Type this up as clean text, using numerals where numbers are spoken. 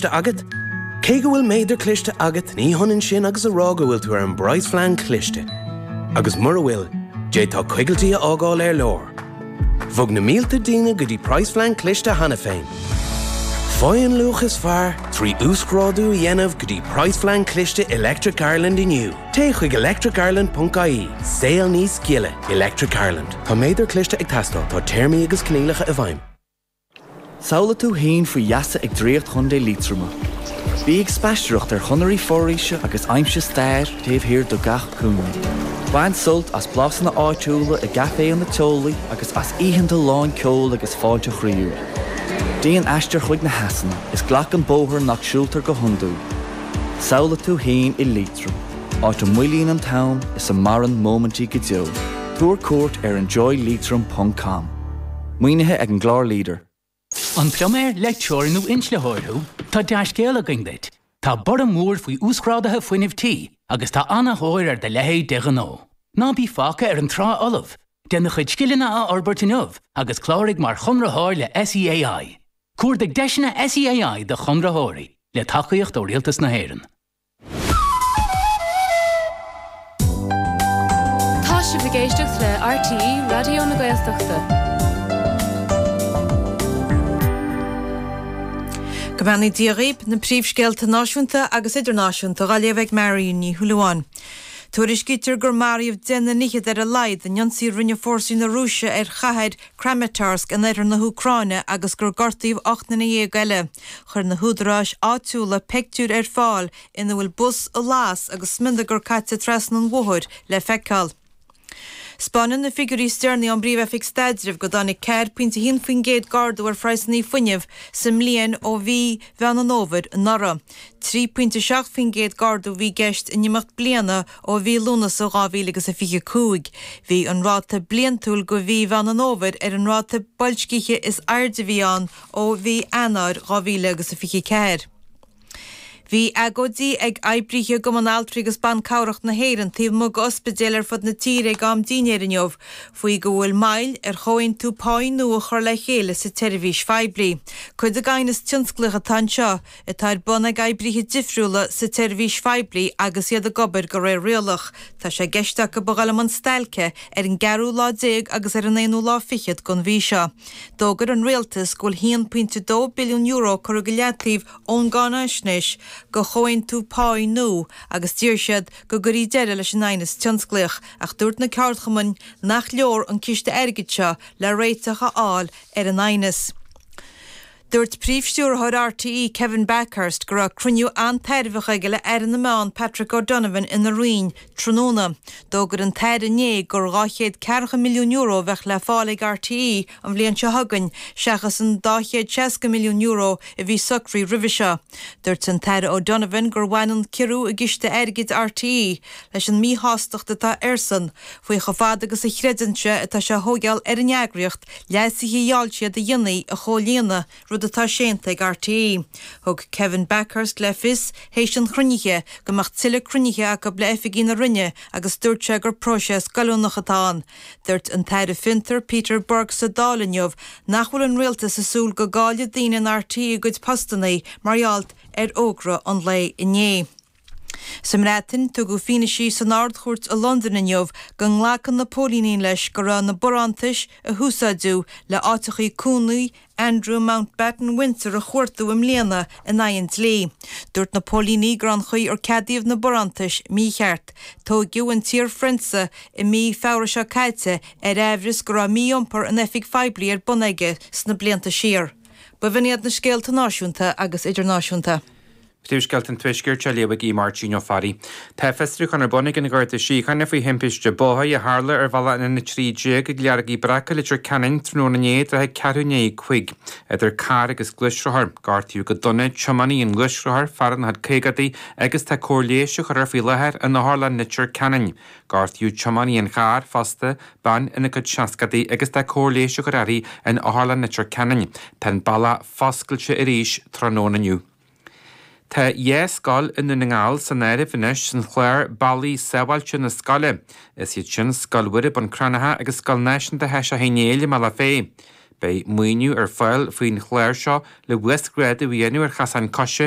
cliste agat? Cé go bhfuil méadar cliste agat, ní hionann sin agus a rá go bhfuil tú ar an bpraghasphlean cliste. Agus mura bhfuil, d'fhéadfá coigiltí a fhágáil ar lár. Bhog na mílte daoine go dtí praghasphlean cliste cheana féin. Faigh an luach is fearr trí uasghrádú a dhéanamh go dtí praghasphlean cliste Electric Ireland inniu. Téigh chuig electricireland.ie. Saol níos gile. Electric Ireland. Tá méadar cliste ag teastáil. Tá téarmaí agus coinníollacha i bhfeidhm. Samhlaigh tú féin faoi gheasa ag Draíocht Chontae Liatroma. Bí ag spaisteoireacht ar chonairí foraoise agus aimsigh stair taobh thiar de gach cúinne. Bain sult as blasanna áitiúla i gcaiféanna teolaí agus as oícheanta lán ceoil agus fáilte chroíúil. Déan aistear chuig na heasanna is glac an bóthar nach siúltar go hiondúil. Samhlaigh tú féin i Liatroim, áit a moillíonn an t-am is a maireann móimintí go deo. Tabhair cuairt ar enjoyleitrim ponc com. Maoinithe ag an gclár Leader. An pluiméir, leictreoir nó inslitheoir thú? Tá dea-scéala againn duit! Tá borradh mór faoi uasghráduithe fuinnimh tí agus tá an-thóir ar do leithéid de ghnó. Ná bí fágtha ar an trá fholamh! Déan do chuid scileanna a fhorbairt inniu agus cláraigh mar chonraitheoir le SEAI. Cuardaigh deiseanna SEAI do chonraitheoirí, le tacaíocht ó Rialtas na hÉireann. Tá sibh ag éisteacht le RTÉ Raidió na Gaeltachta. Go mbeannaí Dia dhaoib, na príomhscéalta náisiúnta agus idirnáisiúnta á léamh ag Marion Ní Shúilleabháin. Tuairiscítear gur maraíodh 10 nduine fhichead ar a laghad in ionsaí a rinne fórsaí na Rúise ar chathair Kramatorsk in oirthear na hÚcráine agus gur gortaíodh 18 nduine eile. Chuir na húdaráis áitiúla peictiúir ar fáil ina bhfuil bus ag las agus smionagar caite trasna an bhóthair le feiceáil. 'Spáineann na figiúirí is deireanaí ón bPríomh-Oifig Staidrimh go dtáinig 4.1% d'ardú ar phraghsanna fuinnimh sa mbliain ó mhí Mheán an Fhómhair anuraidh. 3.7% d'ardú a bhí i gceist in imeacht bliana ó mhí Lúnasa 2025. Bhí an ráta bliantúil do mhí Mheán an Fhómhair ar an ráta boilscithe is airde a bhí ann ó mhí Eanáir 2024. Bhí agóidí ag oibrithe i gCumann Altraí agus Ban Cabhrach na hÉireann taobh amuigh d'ospidéil ar fud na tíre ag am dinnéir inniu faoi go bhfuil moill ar chomhaontú páí nua a chur le chéile sa tseirbhís phoiblí. Cuid den aighneas tionsclaíoch atá anseo atá ar bun ag oibrithe difriúla sa tseirbhís phoiblí agus iad ag obair de réir rialach. Tá sé i gceist acu a dhul i mbun stailce ar an gceathrú lá déag agus ar an aonú lá fichead den mhí seo. D'fhógair an rialtas go bhfuil €1.2 billiún curtha go leataobh ón gcáinaisnéis do chomhaontú páí nua agus d'iarr siad go gcuirfí deireadh leis an aighneas tionsclaíoch ach dúirt na ceardchumainn nach leor an ciste airgid seo le réiteach a fháil ar an aighneas. Dúirt Príomh-Stiúrthóir RTÉ Kevin Bakhurst go raibh cruinniú an-tairbheach aige le Aire na Meán Patrick O'Donovan ina Roinn tráthnóna. D'fhógair an tAire inné gur €240 milliún a bheadh le fáil ag RTÉ an bhliain seo chugainn seachas an €260 milliún a bhí socraithe roimhe seo. Dúirt an tAire O'Donovan gur bhain an ciorrú i gciste airgid RTÉ leis an míshástacht atá airsean faoi chomh fada agus a chreideann sé atá sé a thóigeáil ar an eagraíocht leasuithe a gheall siad a dhéanamh a chomhlíonadh, rud atá séanta ag RTÉ. Thug Kevin Bakhurst le fios théis an chruinnithe go mbeadh tuilleadh cruinnithe acu le oifigigh na Roinne agus dúirt sé gur próiseas goilliúnach atá ann. Dúirt an tAire Fiontar Peter Burke sa Dáil inniu nach bhfuil an rialtas ag súil go gcaillfidh daoine in RTÉ a gcuid postanna mar gheall ar fhógra an lae inné. Sa mBreatain, tugadh fianaise san Ard-Chúirt i Londain inniu go nglacann na póilíní leis go raibh na barántais a húsáideadh le áiteachaí cónaí Andrew Mountbatten Windsor a chuartú i mbliana in aghaidh an dlí. Dúirt na póilíní go raibh an chaoi ar ceadaíodh na barántais mícheart. Tóigeadh an t-iar-phrionsa i mí Feabhra seo caite ar aimhreas go raibh mí-iompar in oifig phoiblí ar bun aige sna blianta siar. B'in iad na scéalta náisiúnta agus idirnáisiúnta. Príomhscéalta an Tuaiscirt á léamh ag Máirtín Ó Fearraigh. Tá fiosrúchán ar bun ag an Gharda Síochána faoi thimpiste bóthair a tharla ar bhealach an N13 ag Leargaí Breaca, Leitir Ceanainn, tráthnóna inné i dtrátha ceathrú i ndiaidh 5, idir carr agus gluaisrothar. Gortaíodh go dona tiománaí an ghluaisrothair, fear ina chuid caogaidí, agus tá cóir leighis á chur air faoi láthair in Otharlann Leitir Ceanainn. Gortaíodh tiománaí an chairr fosta, bean ina cuid seascadaí, agus tá cóir leighis á chur uirthi in Otharlann Leitir Ceanainn. Tá an bealach foscailte arís tráthnóna inniu. Tá dhá scoil i nDún na nGall san áireamh anois san chlár Bealaí Sábháilte na Scoile. Is iad sin Scoil Mhuire Bun Cranncha agus Scoil Náisiúnta Thaoiseach Uí Néill i mBealach Féich. Beidh maoiniú ar fáil faoin chlár seo le uasghrádú a dhéanamh ar chasáin coise.